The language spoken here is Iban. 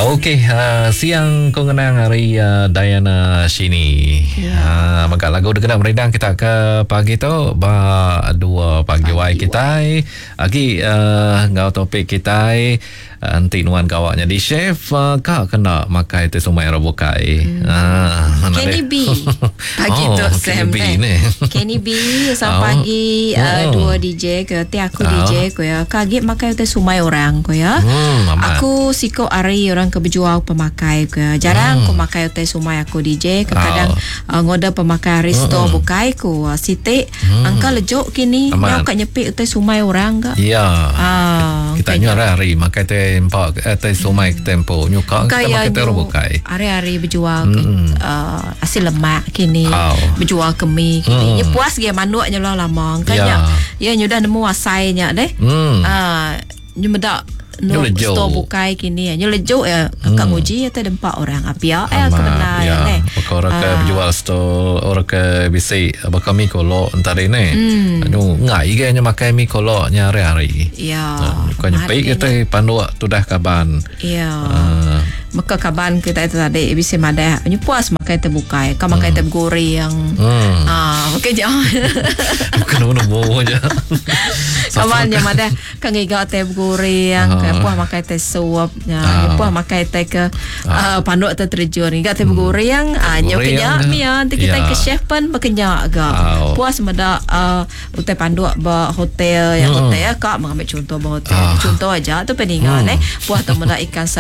Okey, uh, siang ku ngenang hari uh, Diana Shini. Ya. Yeah. Uh, mega lagu dikena merindang kita ke pagi tu ba 2 pagi wai kita. Agi uh, enggau topik kita enti nuan gawa nyadi chef uh, ka kena makai ti sumai orang bukai. Hmm. Uh, Kenny B. Pagi oh, tu Sam Kenny B ni. Kenny B sampai Oh. pagi uh, Hmm. dua DJ ke ti aku Oh. DJ ko ya. Ka agi makai utai sumai orang ko ya. Hmm, amat. Aku siko ari orang ke berjual pemakai ko ya. Jarang ku makai utai sumai aku DJ. Kadang Oh. uh, ngoda pemakai ari store bukai ku uh, Siti angka lejuk kini Hmm. Amat. nyau ka nyepik utai sumai orang ka. Ya. Ah, Kita angka nyu hari makai teh empak eh, teh sumai ke tempo. Nyuka Ka kita ya makai teh orang nyu bukai. Hari-hari berjual ke, uh, asil lemak kini Au. berjual ke mi kini. Nya puas ge manuknya lah lama. Kan Ya. nya ya nyu dah nemu asainya deh. Hmm. Ah, nyu medak Nyu nu lejuk. store bukai kini. Nyu lejuk ya kakak nguji ya teh dempak orang. Apia eh aku benar ya. ya. Baka orang ke Ah. berjual store, orang ke bisi baka mi kolok entah ni. Hmm. Anu ngai ge nya makai mi kolok nya hari-hari. Ya. Bukan nyepik Mati kita panduk tudah kaban. Ya. Ah. Maka kaban kita itu tadi bisa madah nyu puas makai teh bukai. Ka makai teh goreng. Hmm. Ah, okey jangan. Bukan nemu aja. Kawan yang ada kan ngiga teh goreng, Ah. ke puah makai teh suap, ya, Ah. puah makai teh ke ah, panduk teh terjun. Ngiga teh goreng, ah nyo goreng kenya ke. mia nanti kita Ya. ke chef pun berkenyak ga. Au. Puas meda ah, utai panduk ba hotel yang hotel ya kak mengambil contoh ba hotel. Ah. Contoh aja tu peningan eh. Puah tu meda ikan.